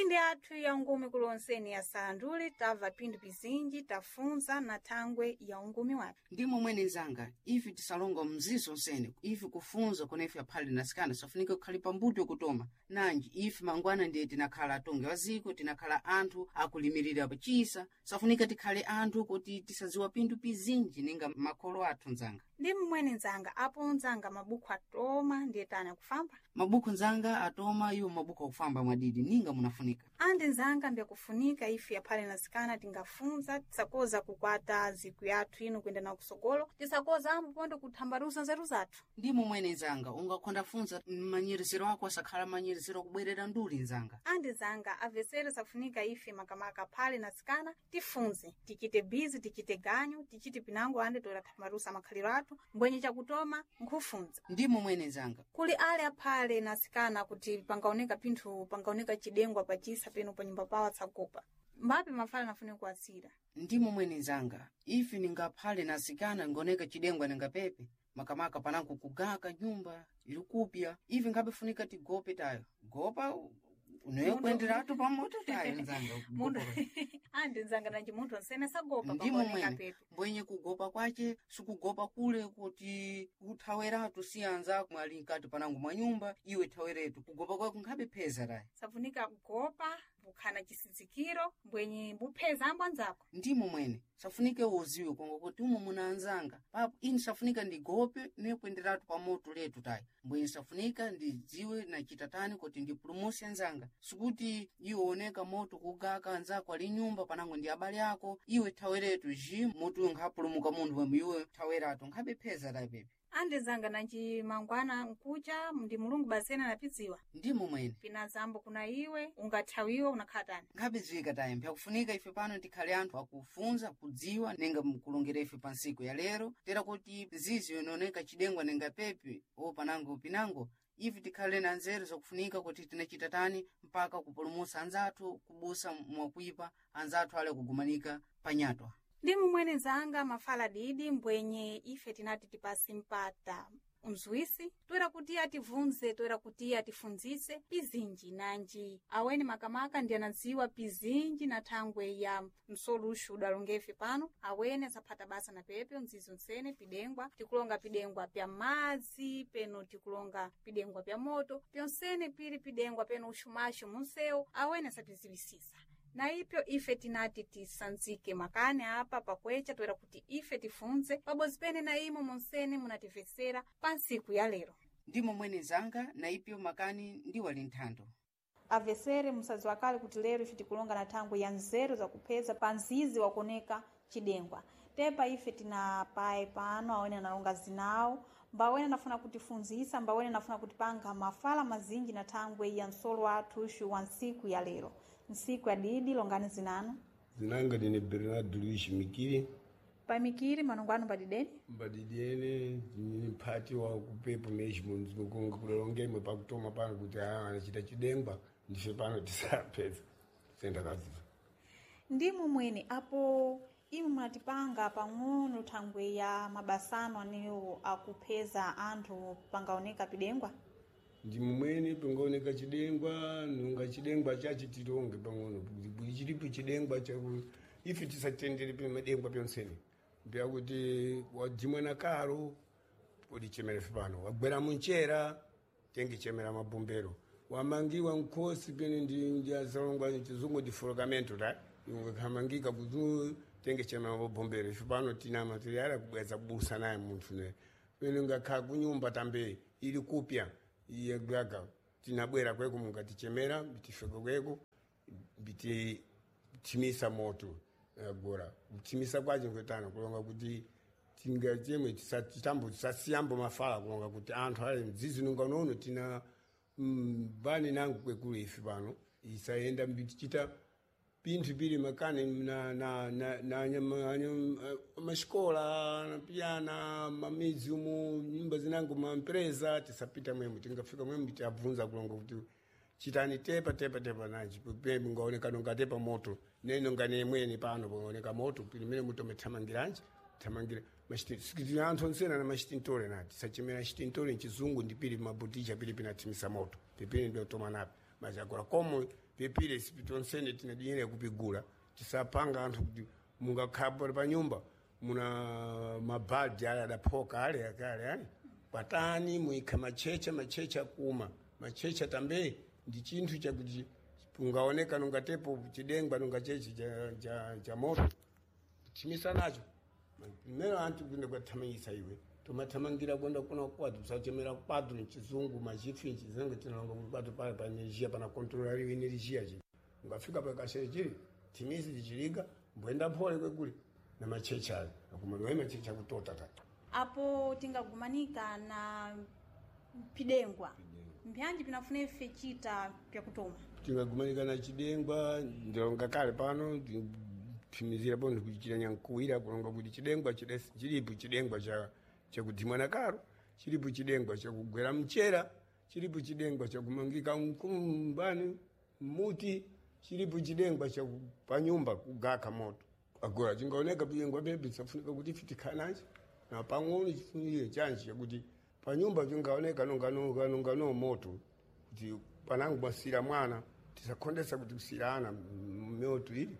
Mphindi athu ya ungumi kulonseni ya salanduli tabva phindu pizinji tafunza na thangwe ya ungumi wathu. Ndimo mwene nzanga ife tisalonga mzizo nsene ife kufunza kuna ife aphale nasikana safunika kukhale pambuto kutoma nanji ife mangwana ndiye tinakhala atongi wa ziko, tinakhala anthu akulimirira pachisa, safunika tikhale anthu kuti tisadziwa pinthu pizinji ninga makholo athu nzanga. Ndimo mwene nzanga apo nzanga mabukhu atoma ndiye tani akufamba. Mabukhu nzanga atoma iwo mabukhu akufamba mwadidi ninga munafunika. Andi nzanga mbyakufunika ife aphale nasikana tingafunza tisakoza kukwata ziku yathu ino kuyenda nawo kusogolo, tisakoza ambo ponde kuthambaluza nzeru zathu. Ndimo mwene nzanga ungakhonda funza manyeresero ako asakhala manyeresero akubwerera nduli nzanga. Andi nzanga avesere safunika ife makamaka aphale nasikana tifunze, tichite bizi, tichite ganyu, tichite pinango andi toera thambalusa makhaliro athu mbwenye chakutoma nkhufunza. Ndimo mwene nzanga. Kuli ale aphale nasikana kuti pangaoneka pinthu pangaoneka chidengwa pachisa peno pa nyumba pawo atsagopa mbapi mafala nafunika kuwatsira. Ndimo mwene nzanga ife ningaphale nasikana ngoneka chidengwa ningapepe makamaka panango kugaka nyumba ili kupya ife ngabefunika tigope tayo gopa unoye kuenderatu pamoto tayo nzanga. Mundu andi nzanga nanji munthu onsene sagopa Ndimo pangaoneka mwene pepe. mbwenye kugopa kwace sikugopa kule kuti uthaweratu si anzako mwali mkati panango mwa nyumba iwe thaweretu kugopa kwako nkhabe pheza tayo. Safunika kugopa bukhana chisizikiro mbwenye bupheza ambo anzako. Ndimo mwene safunike uziwe konga kuti umo muna anzanga papo ini safunika ndigope nekuenderatu pamoto letu tayi mbwenye safunika ndidziwe nachitatani kuti ndipulumuse anzanga sikuti iwe oneka moto kugaka anzako ali nyumba panango ndi abale ako iwe thaweretu ji moto uyo nkhapulumuka munthu wemwe iwe thaweratu nkhabe pheza tayi pepe. Andi nzanga nanji mangwana nkucha ndi mulungu basena anapidziwa. Ndimo mwene. Pina zambo kuna iwe ungathawiwa unakhala tani. Nkhabe tayi mpyakufunika ife pano tikhale anthu akufunza kudziwa ninga mkulongera ife pa nsiku ya lero tera kuti nzizi yononeka chidengwa ninga pepe o panango pinango ife tikhale na nzeru zakufunika kuti tinachita tani mpaka kupulumutsa anzathu kubusa mwakuipa anzathu ale kugumanika panyatwa. Ndimo mwene nzanga mafala didi mbwenye ife tinati tipase mpata mzuwisi toera kuti ativunze toera kuti atifunzise pizinji nanji aweni makamaka ndi anadziwa pizinji na thangwe ya msoluxu udalongefe pano awene asaphata basa na pepe mzizo ntsene pidengwa tikulonga pidengwa pya madzi peno tikulonga pidengwa pya moto pyonsene pili pidengwa peno uxumaxo munsewu awene asapiziwisisa na ipyo ife tinati tisanzike makani apa pakwecha toera kuti ife tifunze pabodzi pene na imo monsene munatimvetsera pa ntsiku ya lero. Ndimo mwene nzanga na ipyo makani ndiwali nthando. Avesere musadziwa kale kuti lero ife tikulonga na thangwe ya nzeru zakupheza pa mzizi wakuoneka chidengwa. Tepa ife tina paye pano awene analonga zinawo mbawene anafuna kutifunzisa mbawene anafuna kutipanga mafala mazinji na thangwe ya msolo wathu uxu wa ntsiku ya lero. Ntsiku ya didi longani zinanu. Zinanga ndine Bernardo Luiz Mikiri. Pamikiri manongo anu padideni. Mbadidiene ndine mphati wa kupepo mesmo ndinokonga kulongemwe pakutoma pano kuti aa anachita chidengwa ndife pano tisapedza sendakaziva. Ndimo mwene apo imwe munatipanga pang'ono thangwe ya mabasano anewo akupheza anthu pangaoneka pidengwa. Ndimo mwene pangaoneka chidengwa nunga chidengwa chachi tilonge pang'ono kuti chilipo chidengwa chaku ife tisatendere pemadengwa pyonsene mbyakuti wadzimwa na karo ulichemera ife pano wagwera munchera tengichemera mabombero wamangiwa nkhosi pene ndi azalongwa chizungu ndi folokamento ta ingakhamangika kuti tengichemera mabombero ife pano tina materiali akubweza kubusa naye munthu ne pene ngakhala kunyumba tambe ili kupya iye gaga tinabwera kweko mungatichemera bitifika kweko bititimisa moto agora kutimisa kwacho nkwetano kulonga kuti tingachemwe tisambo tisasiyambo mafala kulonga kuti anthu ale mdzizi nunga nono tina mbani nangu kwekulu ife pano isayenda mbitichita pinthu pili makani na na na na anyama anyama maxikola na piyana mamidzi umu nyumba zinango mampresa tisapita mwemu tingafika mwemu tiabvunza kulonga kuti chitani tepa tepa tepa nanji pepe ngaoneka nonga tepa moto neno ngane mwene pano pangaoneka moto pilimene muto methamangiranji thamangira machiti anthu onsena na machitintole nati sachimera chitintole mchizungu ndi pili mabuticha pili pinathimisa moto pipili ndiotoma napi Machakula komo pepile sipitonsene tina dinheiro kupigula tisapanga anthu kuti mungakhapo pa nyumba muna mabhaldi ale adaphoka ale akale ale patani muikha machecha machecha kuma machecha tambe ndi chinthu chakuti ungaoneka nungatepo chidengwa nunga chechi cha moto kuthimisa nacho mmene anthu kuenda kwathamangisa iwe tomathamangira kwenda kuna kwatu tusachemera kwatu mchizungu machifi mchizungu tinalonga kuti kwatu pale pa energia pana controla liwe energia chi ungafika pakashere chili thimisi chichiliga mbwenda phole kwekule na machecha ayo akumaliwa machecha kutota ta Apo tingagumanika na pidengwa mbyanji pinafuna ife chita pyakutoma tingagumanika na chidengwa ndilonga kale pano thimizira pono kuchita nyankuwira kulonga kuti chidengwa chilipo chidengwa chakuthimwa na karo chilipo chidengwa chakugwera mchera chilipo chidengwa chakumangika mkumbani muti chilipo chidengwa chapanyumba kugaka moto agora chingaoneka pidengwa pepi tisafunika kuti ife tikhale na pang'ono chifunire chanji chakuti panyumba chingaoneka nonga moto kuti panangu mwasira mwana tisakhondesa kuti kusira ana mioto ili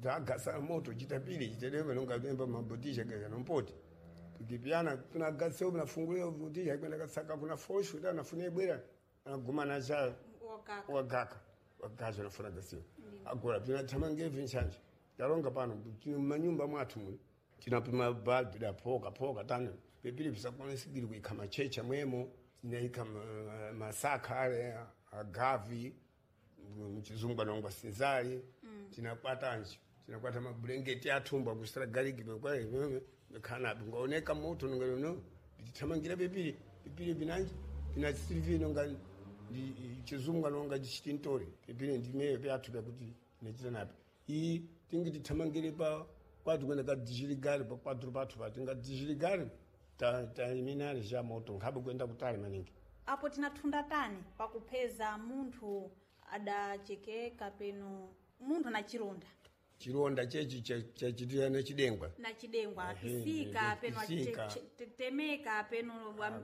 tagasa moto chitapili chitedeve nonga memba mabotisha gaza nompoti tikipyana tunagasa nafungulia botisha kwenda kasaka kuna fosho ita nafuna ibwera anaguma nacha wagaka wagacha nafuna gasiwa agora tinathamange vinchanje talonga pano tino manyumba mwathu muno tinapima balbu da phoka phoka tano pepili pisakwana kuikha machecha mwemo tinaikha masakha ale agavi mchizungu anongwa sinzali tinakwata tinakwata mabulengeti athumba kusira gariki khanapi ngaoneka moto nongano tithamangira pepili pepili pinanji pinasilivi nonga chizungu anonga chitintore pepili ndimeyo pyathu pyakuti tinachita napi iyi tingi tithamangire pa kwatu kwenda kadishiligari pa kwathu pathu pa tingadishiligari taiminari sha moto nkhabe kwenda kutali maningi Apo tinathunda tani pakupeza munthu adachekeka peno munthu na chilonda chilonda chechi chachitira na chidengwa na chidengwa Ehe, kisika peno kisika. temeka peno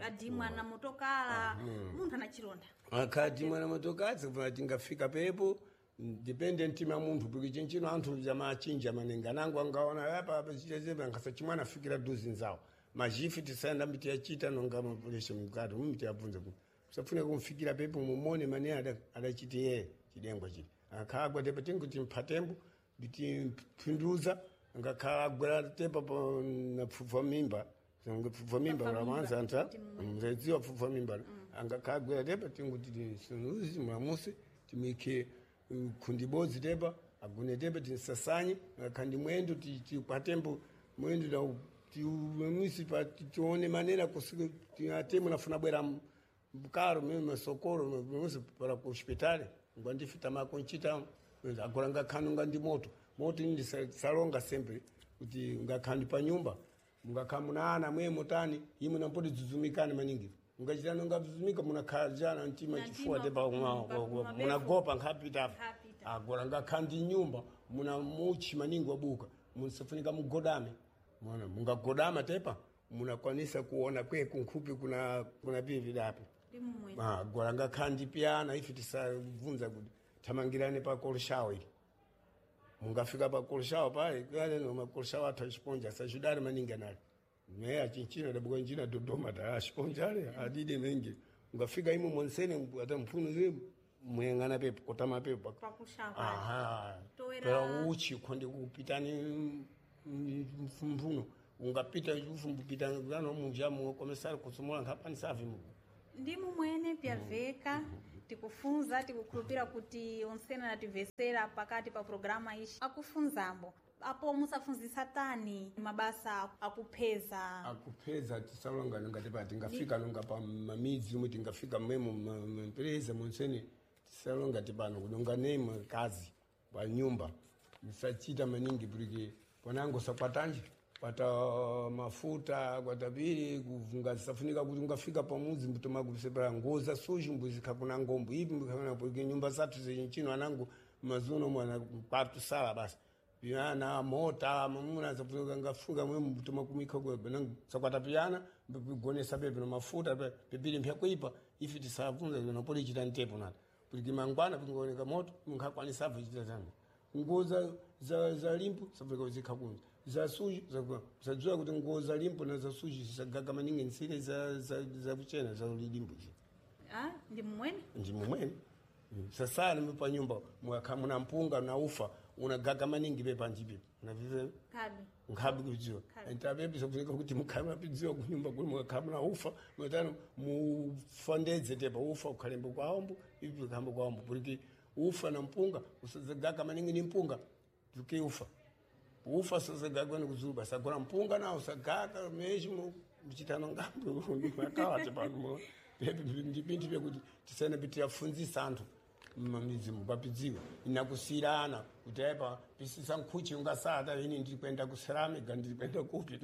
adimwa na motokala munthu ana chilonda akati mwana motokadzi kuva tingafika pepo depende mtima munthu porque chinchino anthu jamachinja maningi anango angaona apa apa chichezepa ankasa chimwana afikira duzi nzawo majifi tisaenda miti yachita nonga mapuleshe mukati mumiti yabvunza kuti usafune kumfikira pepo mumone mane adachiti yeye chidengwa chili akagwa tepo tinguti mphatembo nditimphinduza angakhala agwera tepa na pfupfa mimba pfupfa mimba ulamanza anta mzedziwa pfupfa mimba angakhala agwera tepa tinguti tisunuzi mulamusi timikhe khundi bodzi tepa agune tepa tinsasanye akhandi mwendo tikwatembo mwendo da tiumisi pa tione manera kusika atemo nafuna bwera mkaro mimi masokoro mimi para ku hospitali ngwandifita makonchita agora ngakhani ngandi moto moto ini ndisalonga sempre kuti ngakhani pa nyumba mungakha muna ana mwe mutani imwe nampoti dzudzumikani maningi mungachita nonga dzudzumika munakhajana mtima chifuwa tepa munagopa nkhapita agora ngakhandi nyumba muna muchi maningi wabuka musafunika mugodame mona mungagodama tepa munakwanisa kuona kwe kunkhupi kuna kuna pivi dapi agora ngakhandi pyana ife tisabvunza kuti thamangirane pa koloshawo ili mungafika pa koloshawo pale kale no makoloshawo athu achiponja sachidali maningi anali meya chinchino dabuka njina Dodoma ta achiponja ale adide mengi ungafika imo monsene ata mphuno zemu muyang'ana pepo kotama pepo aha pera uchi khonde kupitani mphuno ungapita ufumbupita ano munja mukomesari kutsumula nkhapani savi muku Ndimu mwene pyaveka tikufunza tikukhulupira kuti onsena nativesera pakati pa programa ishi akufunzambo apo musafunzisa tani mabasa akupheza akupheza tisalonga nonga tepa tingafika nonga pa mamidzi umwe tingafika mmwemo mampereza monsene tisalonga tipano kudonga nemo kazi pa nyumba musachita maningi porque ponango sakwatanje kwata mafuta kwata pili kuvunga safunika kuti ungafika pamuzi mbutoma kusepera ngoza suji mbuzikha kuna ngombo ipi mbukha porque nyumba zathu zenchino anango mazuno mwana kwatu sala basi piyana mota mamuna safunika ngafuka mwe mbutoma kumikha kwe nango sakwata piyana mbigonesa pepe no mafuta pepili mpya kuipa ifi tisavunza no poli chita ntepo nata Porque mangwana pingaoneka moto munkhakwanisa kuchita tani. Nguo za limpo safunika kuzikha kunja. Za suji sadziwa kuti nguo za limpo na za suji zisagaga maningi nsile za kuchena za limpo. Ah, ndi mmwene? Ndi mumwene. Sasa ni pa nyumba mwakha muna mpunga na ufa unagaga maningi pe panjipe. Unavive? Kabi. Nkhabi kudziwa. Ntabebi safunika kuti mukhale mapidziwa kunyumba kuli mwakha muna ufa mwatano mufandedze tepa ufa ukhalembo kwaombo ivi khambo kwaombo porque ufa na mpunga usazagaga maningi ni mpunga tuke ufa. Ufa sazagaga ni kuzulu basi agora mpunga na usagaga mesmo mchitano ngambo mwakawa tepa ndipinti pekuti tisene kuti afunzisa anthu mamizimu papidziwa inakusirana kuti aipa pisisa nkhuchi ungasata ini ndirikwenda kuseramiga ndirikwenda kupi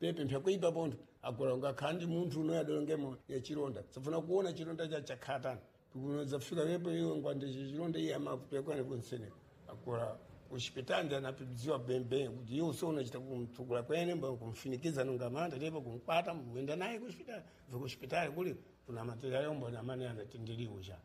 pepe mpyakuipa pontho agora ungakhala ndi munthu unoyadolongemo yachironda safuna kuona chironda cha chakhatani zafika pepo iwe ngwande chironda iye amakupekwane kunseneka agora kuchipitali anapidziwa bembe kuti iwe usiunachita kumtsukula kwene kumfinikiza nungamanda tepo kumkwata muenda naye kuchipitali kuchipitali kuli kuna material yombo namane anatindiliwo cha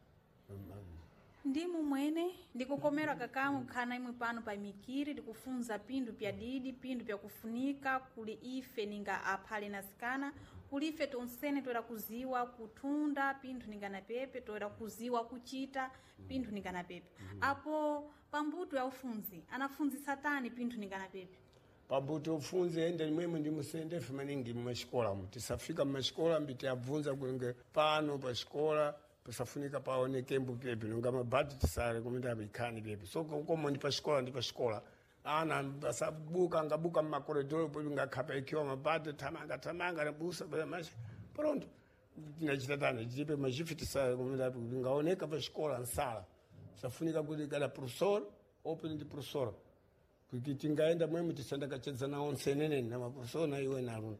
Ndi mumwene ndikukomerwa kakamu khana imwe pano pa mikiri ndikufunza pindu pya didi pindu pya kufunika kuli ife ninga aphale na sikana kuli ife tonsene toera kuziwa kuthunda pinthu ninga na pepe toera kuziwa kuchita pinthu ninga na pepe. Apo pambuto ya ufunzi anafunzisa tani pinthu ninga na pepe? Pambuto ufunzi ende mwemwe ndimusendefe maningi mumachikola mu tisafika mumachikola mbiti abvunza kulenge pano pachikola pasafunika paoneke mbu pepe nonga mabhati tisale kumene abikhani pepe so komo ndi pachikola ndi pachikola ana asabuka angabuka mmakoridoro pepe ngakhapa ikiwa mabhati thamanga thamanga nabusa machi pronto tinachita tani chipe machifi tisale kumene ngaoneka pachikola nsala safunika kuti kada professor open ndi professor kuti tingaenda mwemwe tisanda kachedza nawo nseneneni na maprofesor na iwe naluno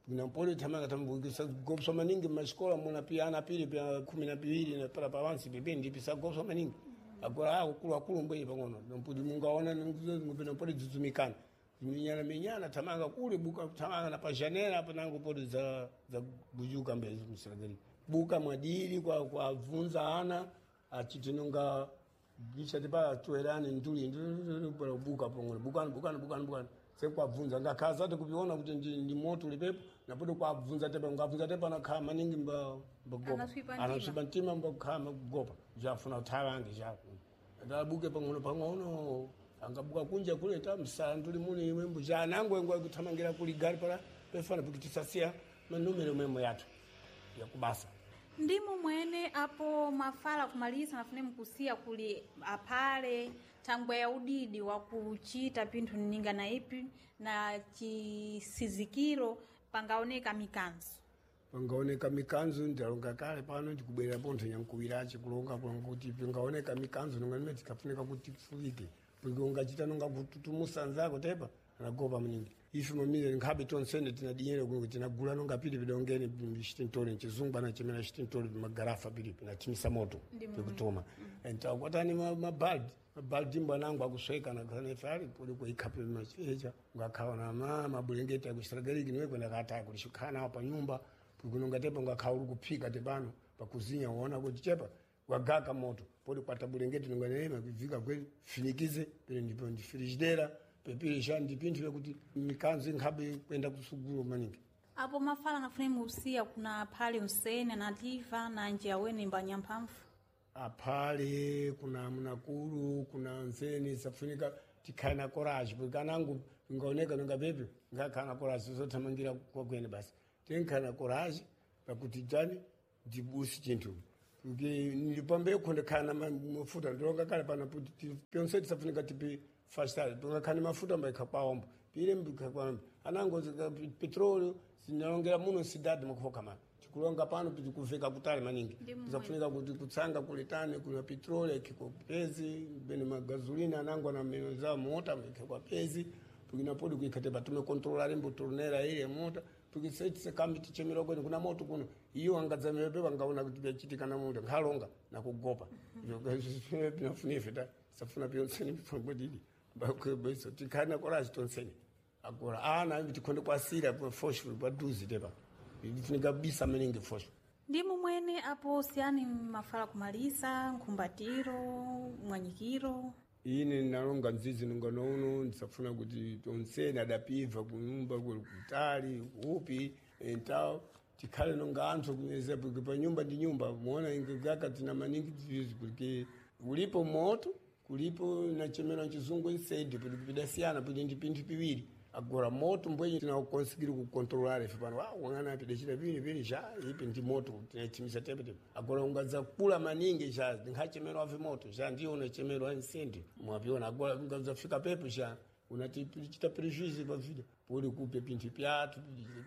nampoli thamanga tambukisa gopsa maningi mumachikola muna pia ana pili pia 12 na para pawansi pipi ndipisa gopsa maningi agora akulu akulu mbwenye pang'ono namputi mungaona nampoli dzidzumikana minyana minyana thamanga kule buka thamanga na pajanela apo nango poli za gujuka mbezi msiragari buka mwadiri kwa kwa ana achitinonga gicha tipa tuerane nduli nduli buka pang'ono bukani bukani bukani bukani sekwabvunza ngakhaza ati kupiona kuti ndi moto ulipepo napote kwabvunza tepa ngabvunza tepa nakhala maningi mbagopa anaswipa mtima mbakhala magopa jafuna kuthawange ja ndabuke pang'ono pang'ono angabuka kunja kule ta msala nduli muni imwembo ja nango engwa kuthamangira kuli gari pala pefana kuti tisasiya manumero mwemwe yathu yakubasa. Ndimu mwene apo mafala kumaliza nafune mkusiya kuli aphale thangwe ya udidi wa kuchita pinthu ninga na ipi na chisizikiro pangaoneka mikanzo. Pangaoneka mikanzo ndalonga kale pano ndikubwera pontho nyankuwirachi kulonga kulonga kuti pangaoneka mikanzo nonga nimene tikafunika kuti tifulike porque ungachita nonga kututumusa nzako tepa anagopa mningi ife mamile nkhabe tonsene tinadinyere kuno tinagula nonga pili pidongene chitintole chizungu anachemera chitintole magarafa pili pinatimisa moto pikutoma entakwatani mabaldi mabaldi mbo anango akusweka nakhana fali poli kuikhape machecha ngakhawa na mabulengeti akusiragariki niwe kwenda kataya kulishikhala nawo pa nyumba kunonga tepa ngakhawa uli kuphika tepano pakuzinya uona kuti chepa wagaka moto poli kwata bulengeti nonga nema kuvika kweli finikize pele ndipo ndi frigideira pepirisha ndi pinthu pekuti mikanzo inkhabe kwenda kusukulu maningi. Apo mafala nafune mukusiya kuna aphale unsene anativa nanje awene mbanyamphamvu. Aphale kuna munakulu kuna nsene safunika tikhale na courage porque anangu ngaoneka nonga pepe ngakhala na courage zothamangira kwakwene basi tinkhale na courage pakuti tani ndibusi chinthu porque ndipambe ndikhala na mafuta ndilonga kale pana kuti pyonse tisafunika tipi fastali tungakhani mafuta mbaikha kwaombo pile mbikha kwaombo anango petróleo sinalongera muno cidade makhoka mana tikulonga pano tikuveka kutali maningi tisafunika kuti kutsanga kuletane kuna petróleo ikhikwa pezi bene magasolina anango na meno za mota ikhikwa pezi pukinapodi kuikhate patume controlar mbo tornera ile mota pukisetise tichemera kwene kuna moto kuno iyo angadzamira pangaona kuti pyachitika na moto nkhalonga nakugopa pinafunife ta safuna pyonsene pangwadidi bakwebesa tikhana courage tonsene agora ana tikhonde kwasira fosho paduze tepa ifunika bisa maningi fosho. Ndimo mwene apo siyani mafala kumalisa nkhumbatiro mwanyikiro. Ine nalonga mzizi nonganouno ndisafuna kuti tonsene adapibva kunyumba kuli kutali kuupi entawo tikhale nonga anthu kuneza porque pa nyumba ndi nyumba muona ingegaka tina maningi tizizi porque ulipo moto kulipo nachemera chizungu inside kuti pidasiyana kuti ndi pinthu piwiri. Agora moto mbwenye tinakonsigiri kukontrolara ife pano wang'ana pidachita pili pili cha ipi ndi moto tinachimisa tepetepe. Agora ungadzakula maningi cha nkhachemero ave moto cha ndiyo unachemero incendio mwapiona. Agora ungadzafika pepo cha unatichita prejuízo pa vida puli kupe pinthu pyathu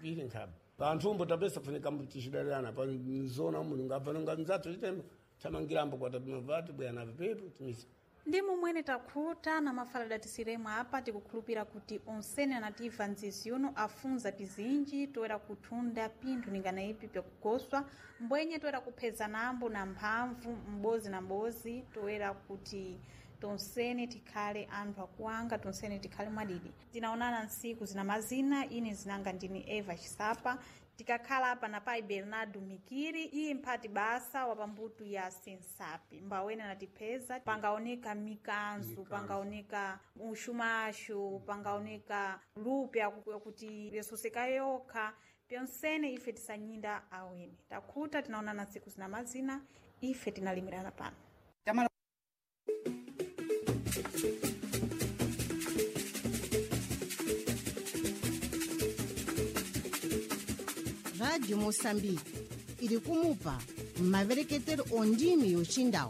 pili nkhaba panthu tapesa funika tichidalirana pa nzona umu ngabva nonga mzathu chitembo thamangirambo kwatapimavati bwana pepo timisa. Ndimo mwene takhuta na mafala datisiremwe apa tikukhulupira kuti onsene anativa nzizi yuno afunza pizinji toera kuthunda pinthu ningana ipi pyakugoswa mbwenye toera kupheza nambo na mphamvu m'bozi na m'bozi toera kuti tonsene tikhale anthu akuwanga tonsene tikhale mwadidi. Tinaonana ntsiku zina mazina. Ine zinanga ndini Eva Chisapa tikakhala apa na pai Bernardo Mikiri iye mphati basa wa pambuto ya sensapi mbawene anatipheza pangaoneka mikanzu pangaoneka uxumaxu pangaoneka lupe yakuti yasoseka yokha pyonsene ife tisanyinda awene takhuta. Tinaonana ntsiku zina mazina. Ife tinalimirana pano. Tamala. Rádio Moçambique iri kumupa mavereketero ondimi yochindau.